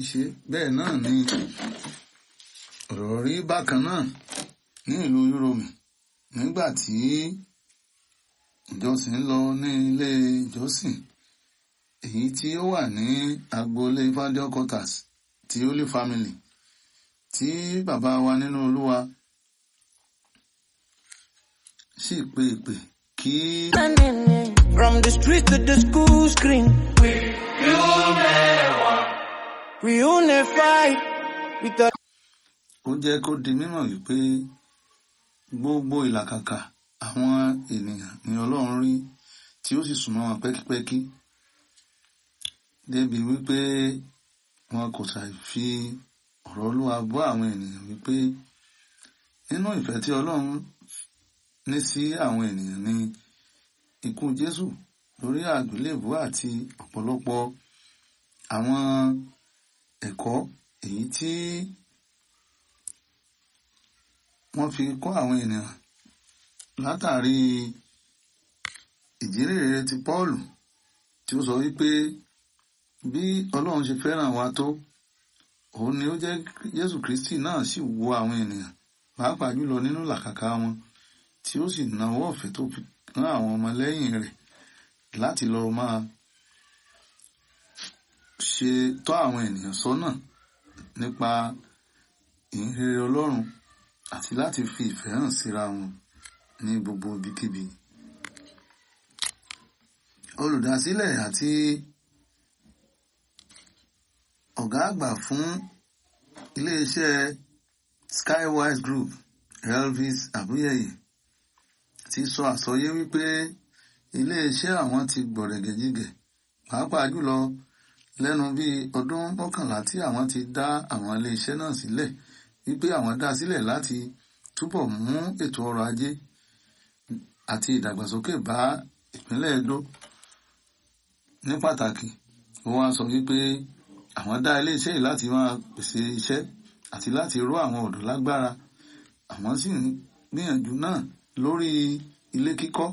Ṣe bẹ́ẹ̀ náà ni ọ̀rọ̀ rí bákan náà ní ìlú Uromi nígbà tí ìjọsìn ń lọ ní ilé ìjọsìn èyí tí ó wà ní agboolé Fájọ Quarters ti Holy Family tí bàbá wa nínú Olúwa sì pe ìpè kí. From the street to the school screen, we unify with the Ó jẹ́ kó di mímọ̀ wípé gbogbo ìlàkàkà àwọn ènìyàn ni Ọlọ́run rí tí ó sì súnmọ́ wọn pẹ́kípẹ́kí débi wípé wọn kò ṣàì fi ọ̀rọ̀ Olúwa bọ́ àwọn ènìyàn wípé nínú ìfẹ́ tí Ọlọ́run ní sí àwọn ènìyàn ni ikú Jésù lórí àgbélébùú àti ọ̀pọ̀lọpọ̀ àwọn ẹ̀kọ́ èyí tí wọ́n fi kọ́ àwọn ènìyàn látàrí ìjírèrè ti Pọ́ọ̀lù tí ó sọ wípé bí Ọlọ́run ṣe fẹ́ràn wa tó, òun ni ó jẹ́ Jésù Kristi náà sì wo àwọn ènìyàn pàápàá jùlọ nínú làkàkà wọn tí ó sì nawọ́ ọ̀fẹ́ tó fi rán àwọn ọmọlẹ́yìn rẹ̀ láti lọ máa ṣe tọ́ àwọn ènìyàn sọ́nà nípa ìhìnrere Ọlọ́run àti láti fi ìfẹ́ hàn síra wọn ní gbogbo ibikíbi. Olùdásílẹ̀ àti ọ̀gá àgbà fún iléeṣẹ́ Skywise Group, Elvis Abuyeye, ti sọ àsọyé wípé iléeṣẹ́ àwọn ti gbọ̀rẹ̀gẹ̀jigẹ̀ pàápàá jùlọ lẹ́nu bíi ọdún 11 tí àwọn ti dá àwọn iléeṣẹ́ náà sílẹ̀, wípé àwọn dá sílẹ̀ láti túbọ̀ mú ètò ọrọ̀ ajé àti ìdàgbàsókè bá ìpínlẹ̀ Edo ní pàtàkì. Ó wá sọ wípé àwọn dá iléeṣẹ́ yìí láti máa pèsè iṣẹ́ àti láti ró àwọn ọ̀dọ́ lágbára, àwọn sì ń gbìyànjú náà lórí ilé kíkọ́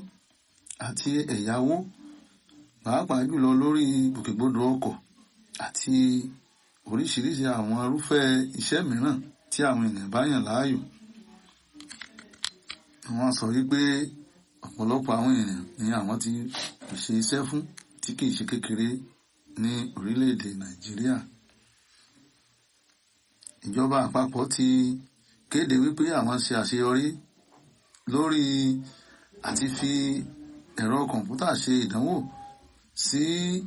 àti ẹ̀yáwó pàápàá jùlọ lórí ìgbòkègbodò ọkọ̀ àti oríṣiríṣi àwọn irúfẹ́ iṣẹ́ mìíràn tí àwọn ènìyàn bá yàn láàyò. Wọ́n sọ wípé ọ̀pọ̀lọpọ̀ àwọn ènìyàn ni àwọn ti pèsè iṣẹ́ fún tí kìí ṣe kékeré ní orílẹ̀-èdè Nàìjíríà. Ìjọba àpapọ̀ ti kéde wípé àwọn ṣe àṣeyọrí lórí àti fi ẹ̀rọ kọ̀m̀pútà ṣe ìdánwò sí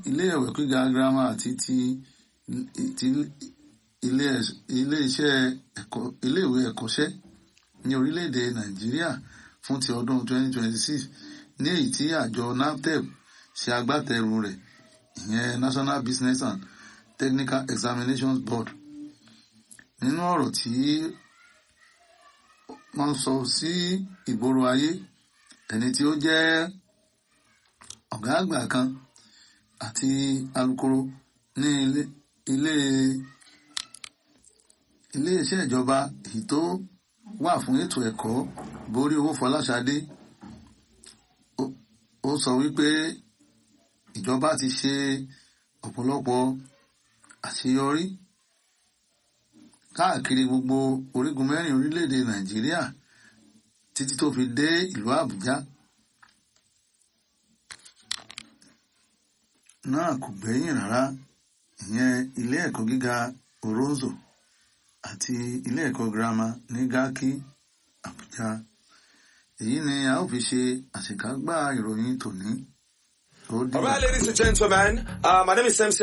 ilé ìwé gíga girama àti ti ilé-iṣẹ́ ẹ̀kọ́ ilé-ìwé ẹ̀kọ́ṣẹ́ ní orílẹ̀-èdè Nàìjíríà fún ti ọdún 2026 ní èyí tí àjọ NABTEB ṣe agbátẹrù rẹ̀, ìyẹn National Business and Technical Examinations Board. Nínú ọ̀rọ̀ tí wọ́n sọ sí ìgboro ayé, ẹni tí ó jẹ́ ọ̀gá àgbà kan àti alukoro ní ilé-iṣẹ́ ìjọba èyí tó wà fún ètò ẹ̀kọ́, Borí Owófọláṣadé, ó sọ wípé ìjọba ti ṣe ọ̀pọ̀lọpọ̀ àṣeyọrí káàkiri gbogbo orígun mẹ́rin orílẹ̀-èdè Nàìjíríà títí tó fi dé ìlú Àbújá. Náà kò gbẹ́yìn rárá, ìyẹn ilé ẹ̀kọ́ gíga Oronzo àti ilé ẹ̀kọ́ girama ní Garki, Àbújá. Èyí ni a ó fi ṣe àṣekágbá ìròyìn tòní. Ó dìgbà. All right, ladies and gentlemen, my name is MC.